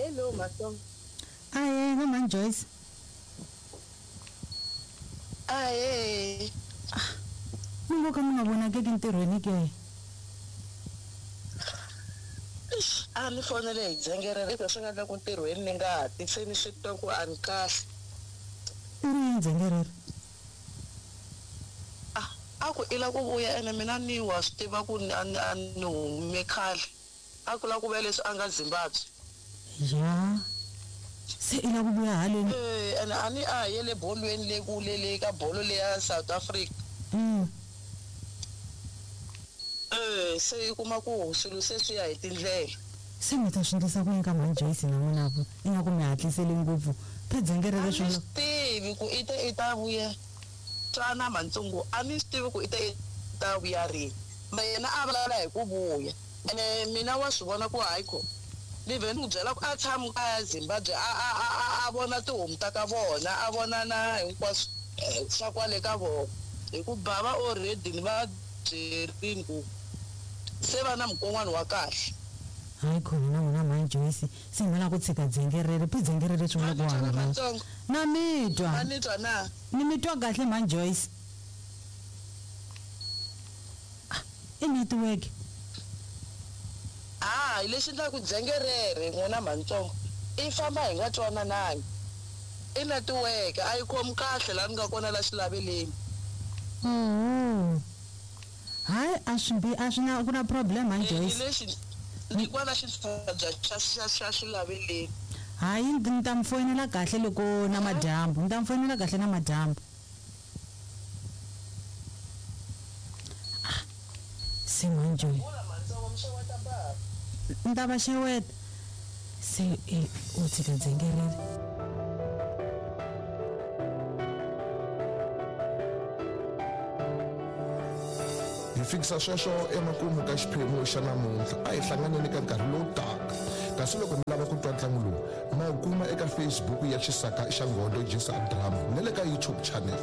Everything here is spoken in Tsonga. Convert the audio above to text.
Hello Matsonga. Ahee va mhani Joyce. Ahee. Mi ngo ka mi nga vonakeki ntirhweni ke? A ni fonele hi dzengerere leswi swi nga endla ku ntirhweni ni nga ti se ni swi twa ku a ni kahle. I ri yini dzengerere? A a ku i la ku vuya ene mina ni wa swi tiva ku a ni a ni hume khale. A ku la ku vuya leswi a nga Zimbabwe. Ya. Se i la ku vuya haleni? Eh, ene a ni a ha yele bolweni le kule le ka bolo leya South Africa. Eh, se i kuma ku swilo se swi ya hi tindlela. Se mi ta swi endlisa ku yini ka mhani Joyce na n'wina ku ingaku mi hatlisele ngopfu? Phe dzengerere A ni swi swi tivi ku i te i ta vuya twana Mhantsongo, a ni swi tivi ku i te i ta vuya rini. Ma yena a vulavula hi ku vuya. Ene mina wa swi vona ku hayi ko ni vhe ni n'wi byela ku a tshami kaya Zimbabwe a a a a a vona tihomu ta ka vona a vona na hinkwaswo swa kwale ka vona hi ku bava already ni va byerini ku se va na mukon'wana wa kahle. Hayi khona na n'wina mhani Joyce se mi lava ku tshika dzengerere phi dzengerere swi Ma vula ku ni twa na hambana. Matsongo? Na mi twa. Ma ni twa na? Ni mi twa kahle mhani Joyce. Ah, i network. Hayi lexi endlaka ku dzengerere n'wina mhanitsongo i famba hi nga twananangi. I netiweke a yi khomi kahle laha ni nga kona la xilaveleni. Oho. Hayi a swi bi a swi na ku na problem mhani Ni Joyce. lexi ni kwala xitshabya xa xa xa xilaveleni. Hayi ni ta mi foyinela kahle loko na madyambu. Ni ta mi foyinela kahle na madyambu. Ah, se mhani Joyce. Vula mhanitsongo mi xeweta bava. Ni ta va xeweta. Se e u tshika dzengerere. Hi fikisa sweswo emakumu ka xiphemu xa namuntlha. A hi hlanganeni ka nkarhi lowu taka. Kasi loko mi lava ku twa ntlangu lowu, ma wu kuma eka Facebook ya Xisaka xa Nghondo Jisa Drama na le ka YouTube channel.